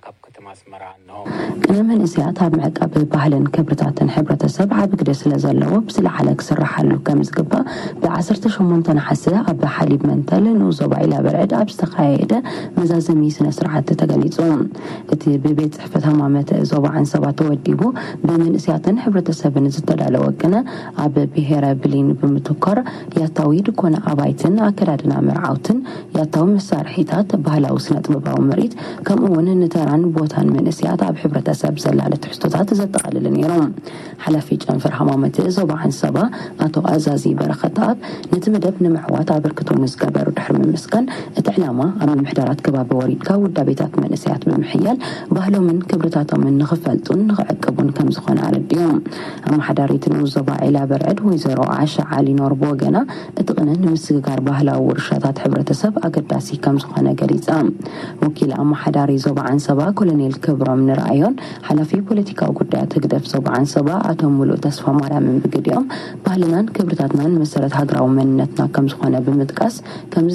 ካብ ከተማ ኣስመራ። ቅነ መንእሰያት ኣብ ምዕቃብ ባህልን ክብርታትን ሕብረተሰብ ዓቢ ግደ ስለ ዘለዎ፣ ብዝለዓለ ክስራሓሉ ከም ዝግባእ፣ ብ18 ነሓሰ ኣብ ሓሊብ መንተል ንኡስ ዞባ ኢላ በርዕድ ኣብ ዝተኻየደ መዛዘሚ ስነ ስርዓት ተገሊጹ። እቲ ብቤት ጽሕፈት ሃማመት ዞባ ዓንሰባ ተወዲቡ፣ ብመንእሰያትን ሕብረተሰብን ዝተዳለወ ቅነ፣ ኣብ ብሄረ ብሊን ብምትኮር፣ ያታዊ ድኮነ ኣባይትን ኣከዳድና መርዓውትን፣ ያታዊ መሳርሒታት፣ ባህላዊ ስነ ጥበባዊ ምርኢት፣ ከምኡ እውን ንተራን ቦታን መንእሰያት ኣብ ሕብረተሰብ ዘላለ ትሕዝቶታት ዘጠቓልል ነይሩ። ሓላፊ ጨንፈር ሃማመት ዞባ ዓንሰባ ኣቶ ኣዛዚ በረኸት ኣብ ነቲ መደብ ንምዕዋት ኣበርክቶ ንዝገበሩ ድሕሪ ምምስጋን፣ እቲ ዕላማ ኣብ ምምሕዳራት ከባቢ ወሪድካ ውዳቤታት መንእሰያት ብምሕያል ባህሎምን ክብርታቶምን ንኽፈልጡን ንኽዕቅቡን ከም ዝኾነ ኣረዲኦም። ኣመሓዳሪት ንኡስ ዞባ ዒላ በርዕድ ወይዘሮ ዓሻ ዓሊ ኖር ብወገና፣ እቲ ቅነ ንምስግጋር ባህላዊ ውርሻታት ሕብረተሰብ ኣገዳሲ ከም ዝኾነ ገሊጻ። ወኪል ኣመሓዳሪ ዞባ ዓንሰባ ኮሎኔል ክብሮም ንርኣዮን ሓላፊ ፖለቲካዊ ጉዳያት ህግደፍ ዞባ ዓንሰባ ኣቶ ሙሉእ ተስፋ ማርያምን ብግዲኦም፣ ባህልናን ክብርታትናን መሰረት ሃገራዊ መንነትና ከም ዝኾነ ብምጥቃስ፣ ከምዚ